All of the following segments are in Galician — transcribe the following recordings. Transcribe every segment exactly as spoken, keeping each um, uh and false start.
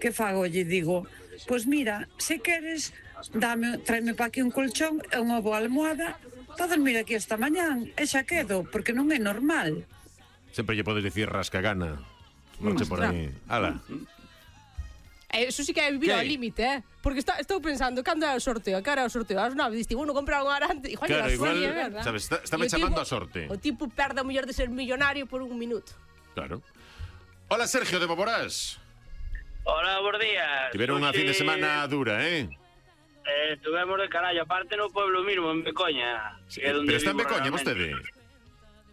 que fago? Lle digo, pois mira, se queres, dame, tráeme pa aquí un colchón e unha boa almohada para dormir aquí esta mañán, e xa quedo, porque non é normal. Sempre lle podes dicir rascagana. Marche por aí. Ala. Eso sí que é vivir ao límite, eh? Porque está, estou pensando, cando é o sorteo? Que era o sorteo? As nove, diste, bueno, comprar un arante. Igual Claro, era igual, sueño, verdad? sabes, está, está me chamando a sorte. O tipo perde o mellor de ser millonario por un minuto. Claro. Hola, Sergio de Boborás. Hola, bons días. Tiveron unha fin de semana dura, eh? Eh, estuvemos de carallo, aparte no pueblo mismo, en Becoña. Sí, pero está en Becoña, vostede?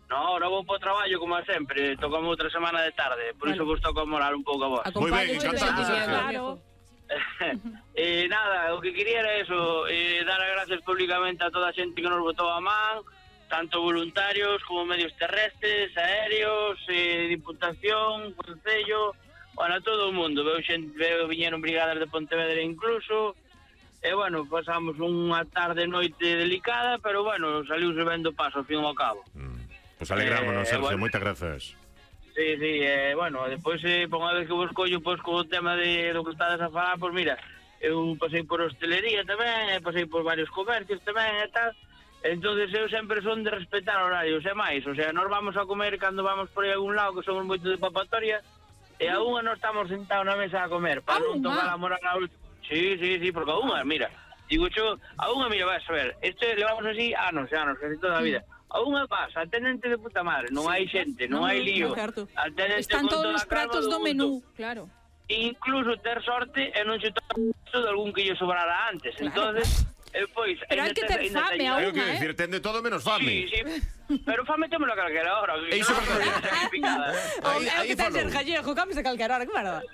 No, non vou po traballo, como sempre. Tocamos outra semana de tarde. Por iso vos toca morar un pouco a vos. Moi ben, encantado, Sergio. Claro. E eh, nada, o que quería era eso, eh, dar as gracias públicamente a toda a xente que nos botou a man, tanto voluntarios como medios terrestres, aéreos, eh, diputación, concello, bueno, a todo o mundo. Veo xente, veo, viñeron brigadas de Pontevedra incluso. E, bueno, pasamos unha tarde noite delicada, pero, bueno, saliuse vendo paso, ao fin e ao cabo. Mm. Pois pues alegrámonos, eh, Sergio, bueno, moitas grazas. Sí, sí, eh, bueno, depois, eh, por unha vez que vos collo, pois, co tema de do que estades a falar, pois, mira, eu pasei por hostelería tamén, e pasei por varios comercios tamén, e tal, entonces eu sempre son de respetar horarios, e máis, o sea, nós vamos a comer cando vamos por aí a algún lado, que somos moito de papatoria, e a unha non estamos sentados na mesa a comer, para non tocar a moral a última. Sí, sí, sí, porque a unha, mira, digo yo, a unha, mira, vas a ver, este levamos así anos, anos, casi toda a vida. A unha pasa, atendente de puta madre, non hai xente, non hai lío. Están todos os pratos do menú, claro. Incluso ter sorte e non se toca de algún que lle sobrara antes. Entonces, pois, pero hai que ter fame a unha, eh? Decir, tende todo menos fame. Sí, sí. Pero fame témolo a calquera hora. E iso é verdade. É o que ten ser gallego, comes a calquera hora, que verdade.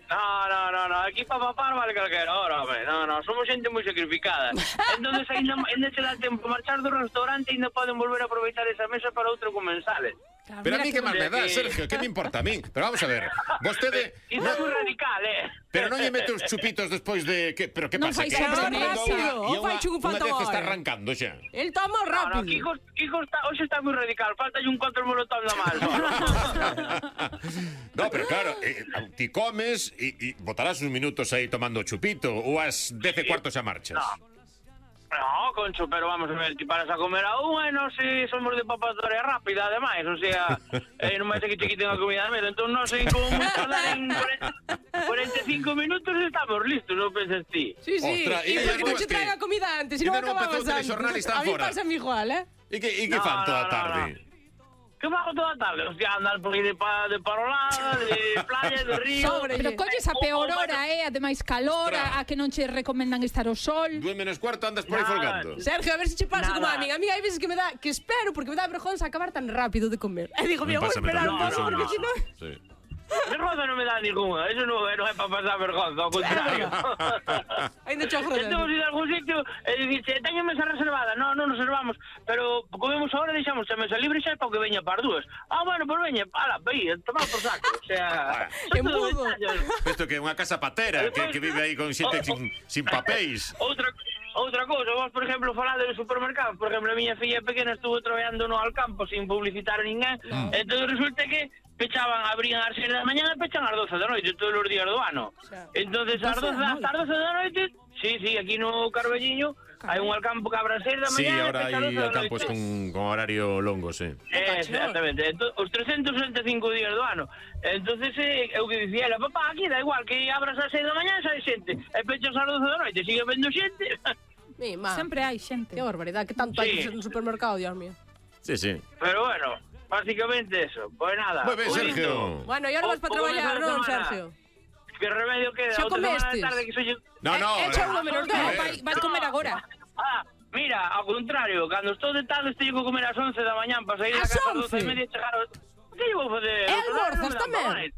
No, no, no, no, aquí para papar vale calquera hora, hombre. No, no, somos xente moi sacrificada. Entonces, ainda, ainda se dá tempo marchar do restaurante e ainda poden volver a aproveitar esa mesa para outro comensales. Claro, pero a mí que máis me dá, Sergio, que me importa a mí? Pero vamos a ver, vostede... Iso é moi radical, eh? Pero non lle mete os chupitos despois de... Que, pero que non pasa? Que está rápido, e unha, unha vez está arrancando xa. El toma rápido. No, no, Kiko, Kiko está, hoxe está moi radical, falta un control molotov na mano. No, pero claro, eh, ti comes e, e botarás uns minutos aí tomando chupito ou as dez e cuartos a marchas. No. No, Concho, pero vamos a ver, ti paras a comer a unha e non se somos de papatoria rápida, ademais, o sea, eh, non vai ser que te quiten a comida de medo, entón non sei como moi tardar en cuarenta e cinco minutos estamos listos, non pensas ti? Sí, sí, Ostras, e porque non che traen a comida antes, se non acabamos antes. A mí pasa igual, eh? E que, e que no, fan toda a tarde? No, no. Que fago toda a tarde? Hostia, andar por aí de, pa, de parolada, de playa, de río... Sobre, pero colles a peor hora, eh? Ademais calor, a, a que non che recomendan estar ao sol... Dúe menos cuarto andas por aí folgando. Sergio, a ver se che pasa como a mí. A mí hai veces que me dá, que espero, porque me dá vergonza acabar tan rápido de comer. E digo, mira, vou esperar un pouco, porque si non... Sí. Vergonza non me dá ninguna, eso non, non é para pasar vergonza, ao contrario. Ainda cho joder. Temos ir a algún sitio e dicir, teño mesa reservada, non, non reservamos, pero comemos ahora e deixamos a mesa libre xa para que veña para dúas. Ah, bueno, pues veña, ala, aí, tomar por saco, o sea... Que mudo. Isto que é unha casa patera, que, que vive aí con xente sin, sin papéis. Outra... Outra cousa, vos, por exemplo, falade dos supermercados. Por exemplo, a miña filla pequena estuvo traballando no Alcampo sin publicitar a ninguén. Mm. Entón, resulta que pechaban, abrían ás seis da mañana e pechan ás doce da noite todos os días do ano. O sea, entonces, ás doce da noite, sí, sí, aquí no Carballiño hai un Alcampo que abre ás seis da mañana. Sí, ahora hai Alcampos con, con horario longo, sí. Eh, exactamente, entón, os trescentos sesenta e cinco días do ano. Entonces, eh, eu que dicía, ela, papá, aquí da igual que abras ás seis da mañana, sai xente, e pechas ás doce da noite, sigue vendo xente. Mima. Sempre hai xente. Que barbaridade, que tanto sí. hai no supermercado, Dios mío. Sí, sí. Pero bueno, básicamente eso. Pues nada. Muy bien, Sergio. Bueno, y ahora vas para traballar, non, Sergio? Que remedio queda? Xa comestes? Que soy... No, no. Echa unha menos dez. Vai, vai comer agora. Ah, mira, ao contrario, cando estou de tarde estou a comer ás once da mañán para sair da casa ás doce e media e chegar ao... Que lle vou fazer? E almorzas tamén?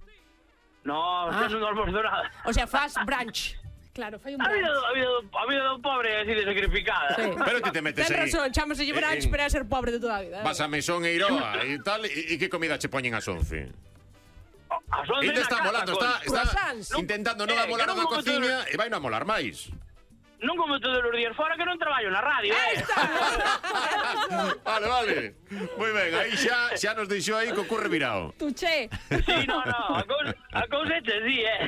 No, ah. non almorzo nada. O sea, faz brunch. Claro, fai un brunch. A vida, a vida, a vida do pobre é así de sacrificada. Sí. Pero ti te metes Ten aí. razón, chámase brunch, pero é ser pobre de toda a vida. Vas a Mesón e Iroa e tal, e que comida che poñen ás once? As once e te está molando, está, está intentando non eh, amolar na cociña e vai non amolar máis. non como todos os días fora que non traballo na radio, eh? Vale, vale. Moi ben, aí xa xa nos deixou aí co curre virado. Tu che. Sí, no, no, a cousa, a cousa é así, eh?